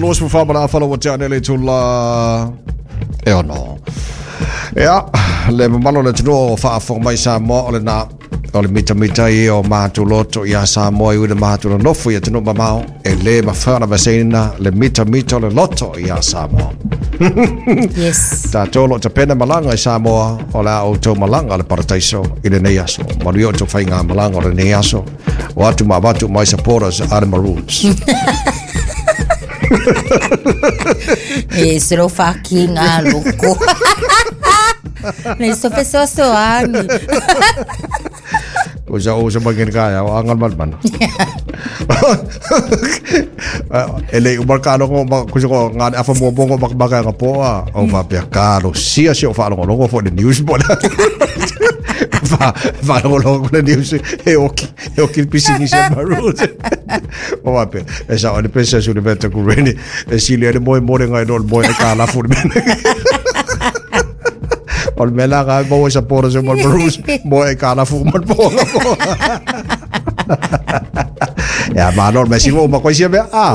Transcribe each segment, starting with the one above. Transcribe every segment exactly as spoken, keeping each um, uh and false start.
Luas fa ma falo wa tane le tula e ono. Ia, le mamalo le tino faafofoga mai Samoa o lena o le mitamita ia o matou loto ia Samoa i le matou nofo ia tino mamao e le mafai ona vaseina le mitamita o le loto ia Samoa. Yes. Tatou lo tapena malaga i Samoa o le a outou malaga le parataiso i lenei aso. Manuia o tou faiga malaga o lenei aso. O atu ma avatu mai supporters a le Maroons. E se lo whakinga loko. Nei so fesoasoani. O sa o sa mangin kaya o angal man man. E le umar ka longo ma kuso ko ngā afa mo bongo mak maka nga poa o fa pia karo sia si o fa longo longo for the news bo. Fa fa longo longo le news e oki e oki pisi ni se Maroons. O fa pia e sa o le pesa su le veta ku reni e si le mo mo ngai no mo e ka la fu le. O le mea la mo sa pora se mo Maroons mo e ka la fu mo po. Ya ma no me sigo ma koisia mea ah.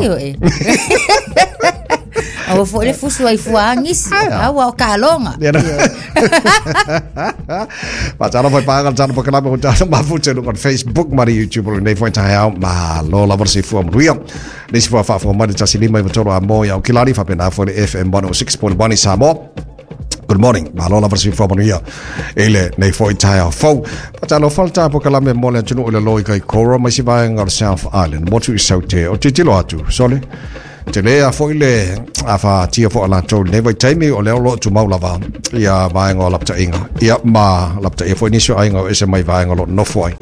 Aua foi le fusu ai fuangis aua o kalonga. Ma tala foi paga tala pa kalama tala ma fu te on Facebook ma YouTube le nei foi tai au ma lo la versi fu amruia. Ni si fu fa fu ma tasi lima i tolo a mo ya o kilari fa pena foi le F M one oh six point one i Samoa. Good morning. Malo la versi fo manuia. Ele nei foi tai au fo. Patalo falta po kalame mo le tunu le loi kai kora mai si vaenga o South Island. Motu i saute o titilo atu. Sole. Te lea foi le a fa tia fo ala tau nei vai taimi o leo lo tu mau lava ia vaenga o laptainga. Ia ma lapta ia foi niso ainga o ese mai vaenga lo nofo ai.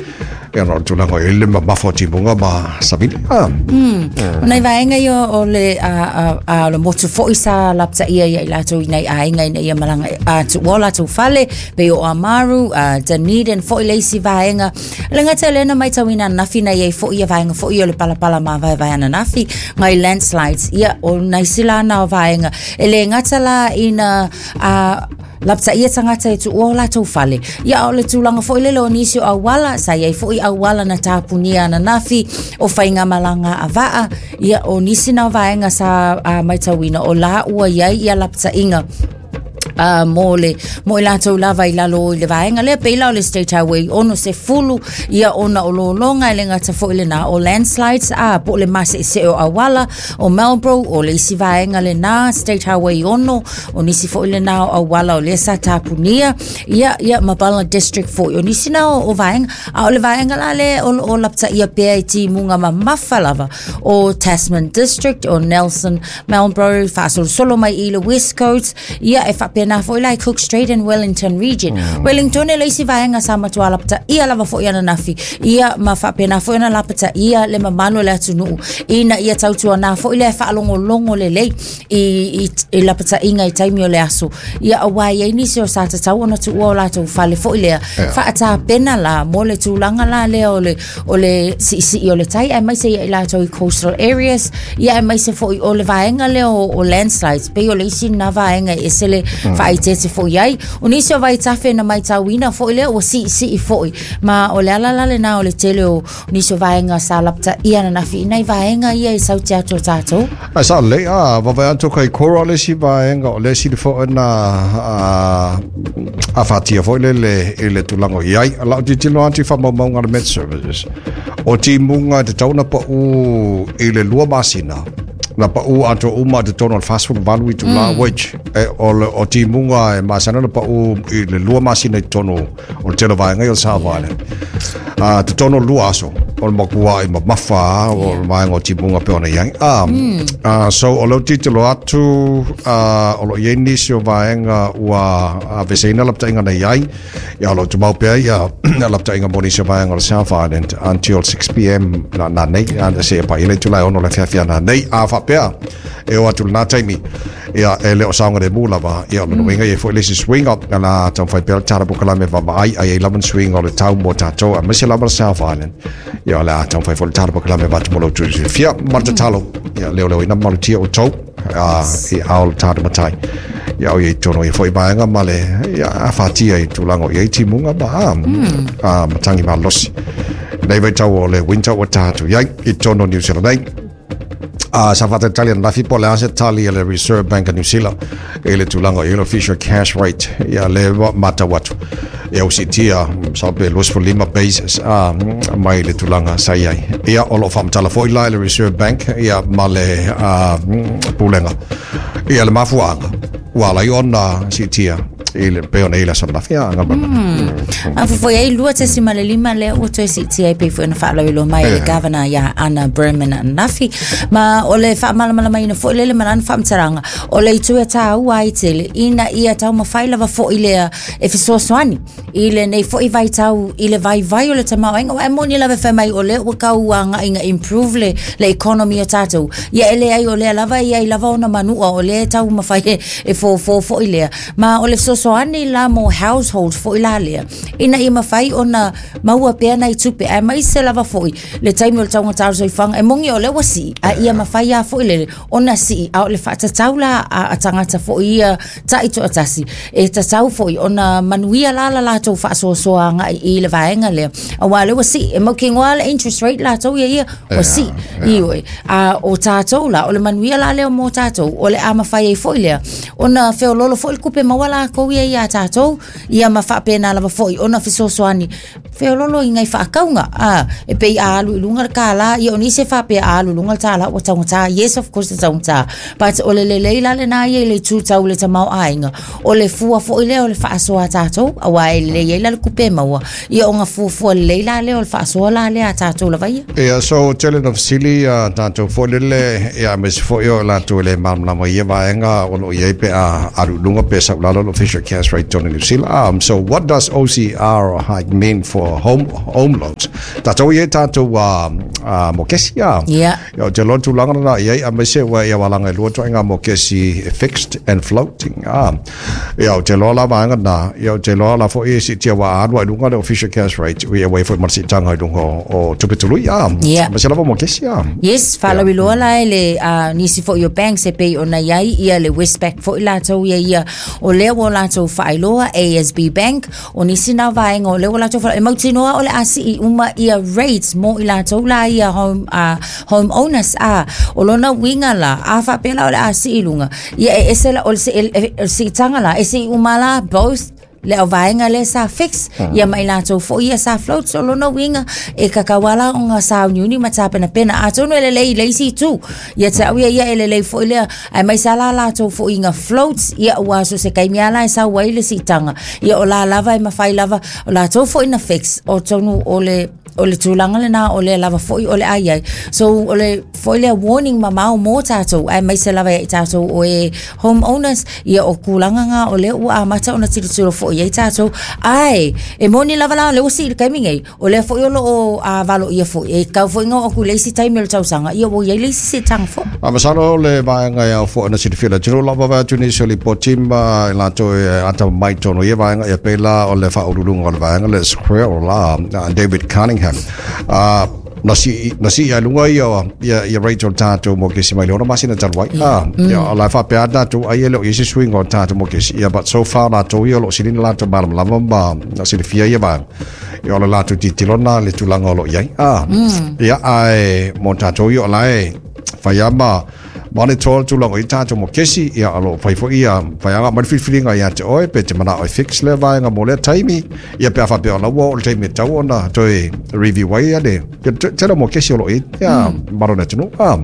Ia no tulaga i le mafo timunga ma sabili. Ah. Mm. Nei vaenga ia o le a a a le motu foi sa lapta ia ia i latou nei ainga ina ia malanga a tu wala tu fale pe o Amaru a Dunedin foi le isi vaenga. Le ngata le na mai tauina nafi na ia foi ia vaenga foi o le palapala ma vai vai ana nafi ngai landslides ia o nai sila na vaenga. E le ngata la ina a lapta ia tangata e tu o latou fale. Ia o le tulaga foi lele o nisi o auala, sa iai foi auala na tapunia na nafi, o whainga malanga a vaa, ia o nisi na vaenga sa a maitauina o la ua iai ia lapta inga. Uh, mo le mo i latou lava i lalo i le vaenga lea peila o le State Highway ono se fulu ia ona o lolonga e le ngata foi le na o landslides a po le mase se o awala o Marlborough o le isi vaenga le na State Highway ono o nisi foi le na o awala o le sa tapunia ia ia Mabala District foi o nisi na o, o vaenga a o le vaenga la le o, o lapta ia pea i timunga mamafa lava o Tasman District o Nelson Marlborough faasolosolo mai i le West Coast ia e faapena na foi lai Cook Strait and Wellington region. Mm. Wellington e leisi vaenga sa matua lapta ia lava foi ana nafi ia ma faapena foi ana lapta ia le mamalo le atunuu ina ia tautua na foi le faalongolongo lelei i i, i lapta inga i taimi o le aso ia awa ia nisi o sa tatau ona tuua o latou fale foi lea yeah. Faatapena la mo le tulaga la lea o le o le siisii o le tai ae maise ia i latou i coastal areas ia ae maise foi o le vaenga lea o, o landslides pei o le isi na vaenga e sele mm. Whaitete foi ai. O nisi o vaitafe na maitauina foi lea o si si foi. Ma o le ala lale na o le tele o nisi o vaenga sa lapta ia na nafi. Inai vaenga ia i sauti atu o tātou. Ai sa le a vavai atu kai kora le si vaenga o le si le foi na a a whatia foi le le i le tulango i ai. Lau titilo atu i whamaumaunga le Met Services. O timunga te tauna pa u i le lua masina. Na pa u ato uma te tono al fast food valu i tu la which e o le o timunga e masana na pa u i le lua masina i tono o le tele vaenga i o le South Island. A te tono lua aso o le makua i mamafa o le vaenga o timunga pe ona iai. Ah, ah, so o leo titilo atu ah, o lo iai nisi o vaenga ua a veseina laptainga na iai ia lo tumau pea ia laptainga mo nisi o vaenga o le South Island until six p m na, na nei a se pa ile tulai ono le fiafia na nei a whapea e o atu na taimi ia e le o saunga le mula va ia o winga ia foi le si swing up na tau whai pea tara pukala me va ai ai eleven swing o le tau mo tātou a misi lava South Island ia o le a tau whai foi tara pukala me va tumolo tu fia marta talo ia leo leo ina malutia o tau a i ao le tātou matai ia o ia i tono ia foi vaenga ma le ia a whatia i tūlango ia i timunga ma a matangi ma losi nei vai tau o le winter o tātou ia i tono New Zealand nei. A sa faatalitali anafi po o le a se tali a le Reserve Bank of New Zealand i le tulaga i le official cash rate. Ia lea ua matau atu ia ua siitia masalo pe luasefulu lima basis a mai le tulaga sa i ai. Ia o loo faamatala foʻi la i le Reserve Bank ia ma le pulega ia le mafuaaga ua ala ai ona siitia i le pei ona i le aso ananafi a A fofo ai lua tesima le lima lea ua toe siitia ai pei foi ona faalauiloa mai e le Governor ia Anna Berman ananafi. Ma o le faamalamalamaina foi lele ma lana faamatalaga o le itu e tāua ai tele ina ia taumafai lava foʻi lea e fesoasoani i lenei foʻi vaitau i le vaivai o le tamaoaiga. Ua e moni lava e fai mai o lea ua tau agaʻi ina improve le, le economy o tatou. Ia e leai, o lea lava e iai lava ona manua o lea e taumafai e, e fofo foʻi lea. Ma o le fesoasoani la mo households foʻi la lea ina ia mafai ona maua pea nai tupe ae maise lava foʻi le taimi o le taugatā o le soifuaga. E moni o lea ua sii a ia mafai a foʻi lele ona sii, a o le faatatau la a, a tagata foʻi ia taʻi toʻatasi e tatau foʻi ona manuia la la latou faasoasoa agai i le vaega lea, auā lea ua sii e mautinoa le interest rate latou ia ia ua sii ioe. A o tatou la, o le manuia la lea mo tatou o le a mafai ai foʻi lea ona feololo foʻi le tupe maua lakou ia iā tatou ia ma faapena lava foʻi ona fesoasoani feololo i nai faakauga a e pei a alu i luga le kālā. Ia o nisi e faapea a alu i luga le tālā ua taugata. Yes, of course e taugata, but o le lelei la lenā ia i le itu tau le tamaoaiga o le fua foʻi lea o le faasoa a tatou, auā e lelei ai la le tupe maua ia ona fuafua lelei la lea o le faasoa la lea a tatou lava ia. Ia, so tele na fesili a tatou foi lele ia aemaise foi o latou e le malamalama i ia vaega o loo i ai pe a alu i luga pe sau lalo le official cash rate totonu o New Zealand. Um, so what does O C R hike mean for home home loans? Tatou i ai tatou uh, uh, mokesi a. Ia. Ia o te loa tulaga na i ai aemaise ua ia walaga e lua toaiga mokesi fixed and floating. Ah. Ia o te loa la vaega na, ia o te loa la foi e siitia ua alu ai luga le official cash rate ia ua i foi ma le siitaga i luga o, o tupe tului a. Ia. Aemaise lava mokesi a. Yes, faalauiloa la e le uh, nisi foʻi o banks e pei ona iai ia le Westpac foʻi latou ia ia o lea ua latou faailoa, A S B Bank o nisi na vaega o lea ua latou faailoa e mautinoa o le a sii uma ia rates mo i latou la ia home, uh, home owners. A o lona uiga la a faapea la o le a sii luga ia e ese la o le si- e- e- o le siitaga la e sii uma la both le au vaega lea sa fix ia ma i latou foʻi ia sa float. So lona uiga e kakauala ona sauniuni ma tapenapena atonu e lelei i le isi itu ia te au ia ia e lelei foʻi lea ae maise la latou foʻi iga floats ia ua so se kaimi ala e sau ai le siitaga ia o la lava e mafai lava o latou foʻi na fix o tonu o le o le tulaga lenā o lea lava foʻi o le ai ai. So o le foi lea warning mamao mo tatou ae maise lava ia i tatou o e home owners ia o kulaga ga o lea ua amata ona tilotilo foʻi ai tatou. Ae e moni lava la o lea ua sii le taimi nei o lea foʻi o loo a valo ia foʻi e kau foʻi ga o aku le isi taimi o le tausaga ia ua iai le isi siitaga foʻi. A masalo le vaega e au foi na silafia le atunuu lava vai atu nisi o lipoti ma i latou e ata mai tonu ia vaega ia pei la o le faauluuluga o le vaega le Square la uh, David Cunningham uh, na si na si ia lunga ia ia ia rate o tatou mokesi mai le ona masina talu ai ah ia o la faapea tatou ai e le o i se suiga o tatou mokesi ia, but so far latou ia o loo silina latou malamalama ma na silafia ia vaega ia o le latou tilotilo na le tulaga o loo i ai ah ia ae mo tatou ia o la e fai ama monitor tulaga i tatou mokesi ia o loo fai foi ia faiaga mai le filifiliga ia te oe pe te manao e fix le vaega mo lea taimi ia pe a faapea ona ua oo le taimi e tau ona toe review ai ia le ia tele o mokesi o loo i ia malo le atunuu ah.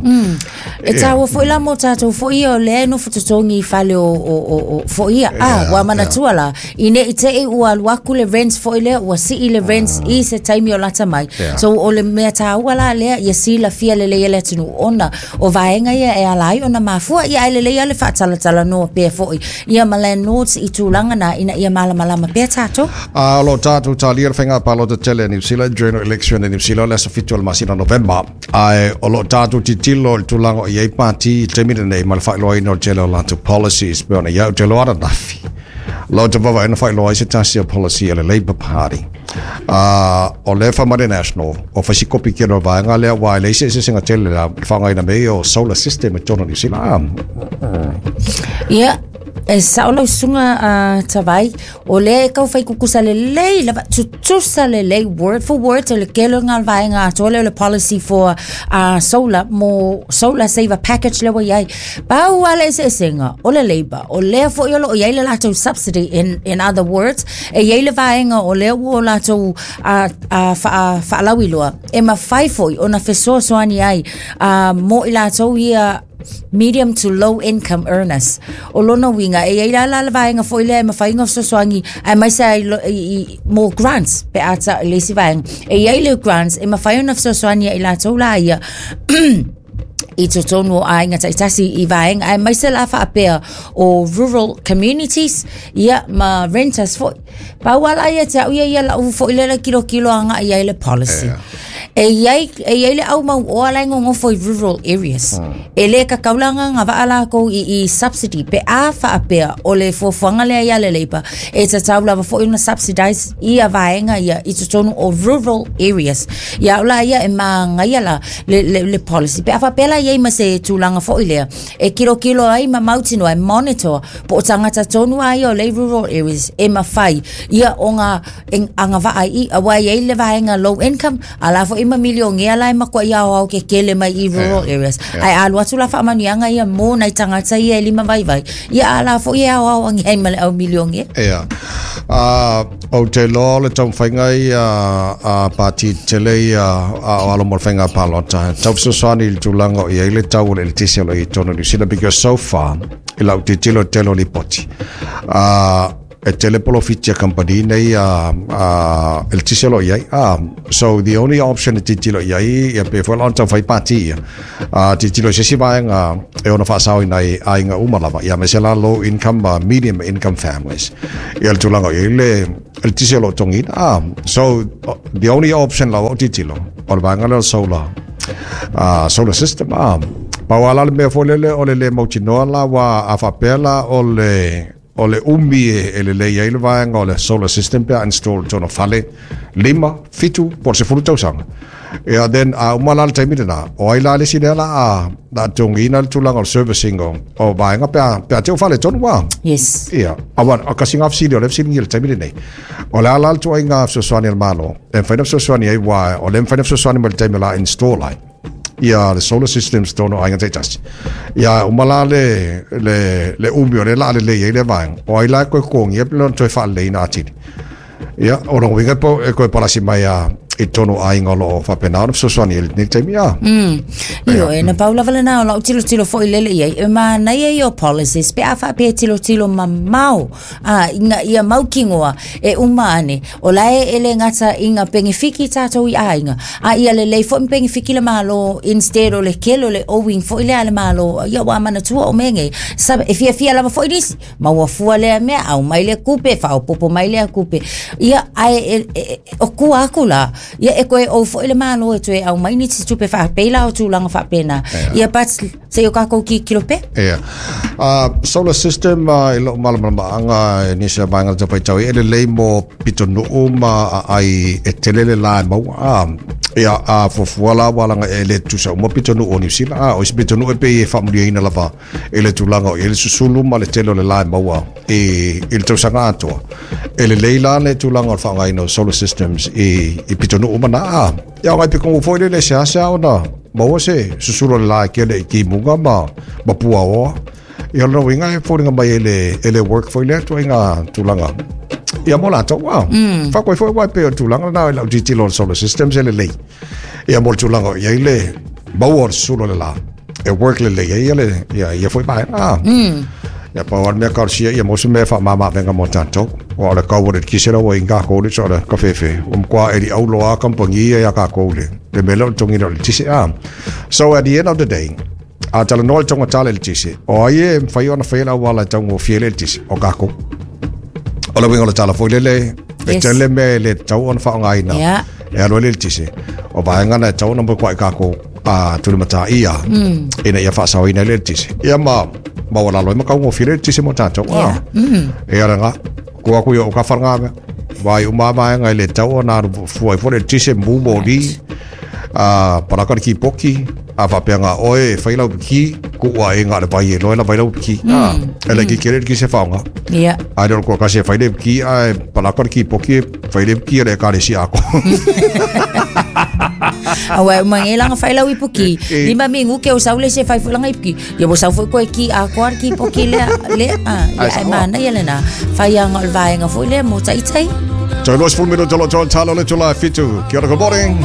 E tāua foʻi la mo tatou foʻi ia o lea e nofo totogi i fale o, o, o, o foʻi ia a ua manatua la i nei te i ua alu aku le rents foʻi lea ua sii le rents i se taimi o lata mai. Yeah. So o le mea tāua la lea ia silafia lelei e le atunuu ona o vaega ia e ala ai ona mafua ia ae lelei a le faatalatalanoa pea foʻi ia ma landlords i tulaga na ina ia malamalama pea tatou. A o lo tatou talia le faiga palota tele a New Zealand, general election a New Zealand, le aso fitu o le masina November. Ae o lo tatou tilotilo i le tulaga o i ai pati i le taimi lenei ma le faailoaina o le tele o latou policies pe ona ia o te loa ananafi. Lo te vava ina faailoa ai se tasi o policy a le Labour Party. Uh, o le Whamare National, o whaisikopi ki no vaega lea wa le ise se singa tele la whangaina mei o solar system e tonu New Zealand. Ia. E sao lau susuga uh, Tavai, o lea e kau fai kukusa lelei lava tutusa lelei word for word o le kelo ngā vaenga atoa lea o le policy for uh, solar mo solar saver package lea ua iai. Pau a le eseesega o le Labour, o lea foi o loo iai le latou subsidy in, in other words, e iai le vaenga o lea ua o latou uh, uh, wha, whaalauiloa e mawhai foi o na fesoasoani ai uh, mo i latou ia medium to low income earners. O lona winga, e iai la la le vaenga foi lea e mawhai ngā fesoasoani ai mai sa i, i, i, mo grants pe ata i le isi vaenga. E iai le grants e mawhai o na fesoasoani ai latou la ia i totonu o aiga taitasi i vaenga ai mai se la whaapea o rural communities ia ma renters foi. Pau ala ia te au ia ia lau foi lela kilo kilo anga ia i le policy. E iai, e iai le au mau o ala i ngongofo i rural areas. E le kakaulanga ngā waa lākou i, i subsidy pe a whaapea o le fuafuaga lea ia le Labour e tatau lava foi ona subsidize ia vaenga ia i totonu o rural areas. Ia o la ia e maagaia la le, le, le policy. Pe a whaapea la iai ma se tulaga foi lea e kilokilo ai ma mautinoa e monitor po o tagata tonu ai o le rural areas e mawhai ia o ngā anga waa i awa iai le vaenga low income a la foi ma milionea la e makua ia au ke kele mai i rural areas. Ai alu atu la whaamanianga ia mō nai tangata ia e lima vai vai. Ia ala foi e au au angi ai ma le au milionea. Ea. Uh, o te loa le taumafaiga ia a pati tele ia a o alo mo le faiga palota. Tau fesoasoani i le tulaga o iai le tau o le eletise o lo i totonu o Niu Sila because so far i lau tilotilo tele o lipoti. Uh, e tele polofiti a company nei a a eletise o lo iai. Ah, so the only option e tilotilo iai ia pe foi la ona taumafai pati ia. A tilotilo i se isi vaega e ona faasaoina i aiga uma lava. Ia aemaise la low income ma medium income families. Ia le tulaga o iai le eletise o lo o togiina. Ah, so the only option lava o tilotilo o le vaega lea o le solar uh, solar system. Ah, pau ala le mea foi lele o le le mautinoa la ua a faapea la o le o le umi e, e lelei ai le vaega o le solar system pe a install tona fale lima, fitu, po o le sefulu tausaga. Ia then a uma la le taimi lena, o ai la le isi lea la a la togiina le tulaga o le servicing o, o vaega pe a, pe a te o fale tonu wa. Yes. Ia, awa, o kasi ngā fesili o le fesiligia i le taimi lenei. O le a la le tuaiga fesoasoani a le Malo, e mafai ona fesoasoani ai ua, o le mafai ona fesoasoani mai le taimi o la install ai ia le solar systems tonu aiga taitasi. Ia uma la le, le, le umi o le la lelei ai le vaega, o ai la e koe kogia pe lona toe faaleleina atili. Ia, o lona uiga po e koe palasi mai a i tonu aiga o loo faapena ona fesoasoani ai i lenei taimi a. Mm. Io e na pau lava lena o lau tilotilo foi lele iai. E manaia ia o policies pe a whaapea tilotilo mamao a inga ia maukingoa e uma ane. O lae e le ngata inga pengefiki tātou i aiga. A ia lelei foi mpengefiki le malo instead o le kelo le owing foi le ale malo. Ia wa manatua o menge. Sabe, e fia fia lava foi nisi. Maua fua lea mea, au mai le kupe, whaopopo mai lea kupe. Ia ai e, e, e, o kua aku la. Ia e koe o foi le malo e toe au mai nisi tupe whaapela o tūlanga whaapena. Ia but se o kākou ki kilo pe? Ia. Uh, solar system uh, i loo malamalamaanga e nisi a vaega le taufaitau e lelei mo pitonuu ma ai e tele le la e maua. Ah, ia a fuafua la walaga e le tusa uma pitonuu o Niu Sila. Ah, o isi pitonuu e pei e faamuliaina lava e le tulaga o i le susulu ma le tele o le la e maua i, i le tausaga atoa. E lelei la le tulaga o le faaaogaina o solar systems i, i pitonuu uma na. Ah, ia o ngai pikongu foi le le seasea ona maua se susulu o le la e kele i kimuga ma, ma puaoa. Ia lona uiga e foliga mai e le, e le work foi lea tuaiga tulaga. Ia mo latou a. Mm. Whakoe foi wai pe o tulaga na i lau tilotilo o le solar systems e lelei. Ia mo le tulaga o iai le maua o le susulu o le la. E work lelei ai ia le, ia, ia foi vaega. Ah. Mm. Ia pau ale mea karosia ia mo se mea faamāmā mo tātou. O le kau o le kisela ua i ngā kōle so le kawhewhe. O mkua e li au loa kampangi ia ia kā kōle. Le mea leo tongina o le tise a. So at the end of the day, a tala noa le tonga tala le tise. O ai e mwhai ona whai la wala taungo fie le tise. O kākou. O le winga o le tala foi lele. E Yes. tele me le tau ona whaongaina. Yeah. E alo le tise. O vaenga na e tau ona mo kwa i kākou a tuli mata ia. Mm. Ina ia whaasaoina le tise. Ia ma ma wala loi makau ngō le tise mo tātou. Yeah. Mm. E ara ngā, kua kui o ka wharanga mea. Vai uma vaenga i le tau ona aru fua i fo le tise mū mō ri. A palaka le kipoki a faapea oe e fai lau piki ku ua e ngā le vai e loe la vai lau piki a e le ki kere ki se whaonga Ia. A le ko kasi e fai le piki a e palaka le kipoki e fai le piki e le kare si ako. A wa mangelanga fai lau ipuki. Eh. Lima mingu ke o saule se fai fulanga ipuki. Ia mo sau foi koe ki a koa ki poki lea le a Ai, ia saoa. e mana ia lena. Fai anga o le vaenga foi lea mo taitai. Tau los full minuto lo tau talo le tula fitu. Kia ora, good morning.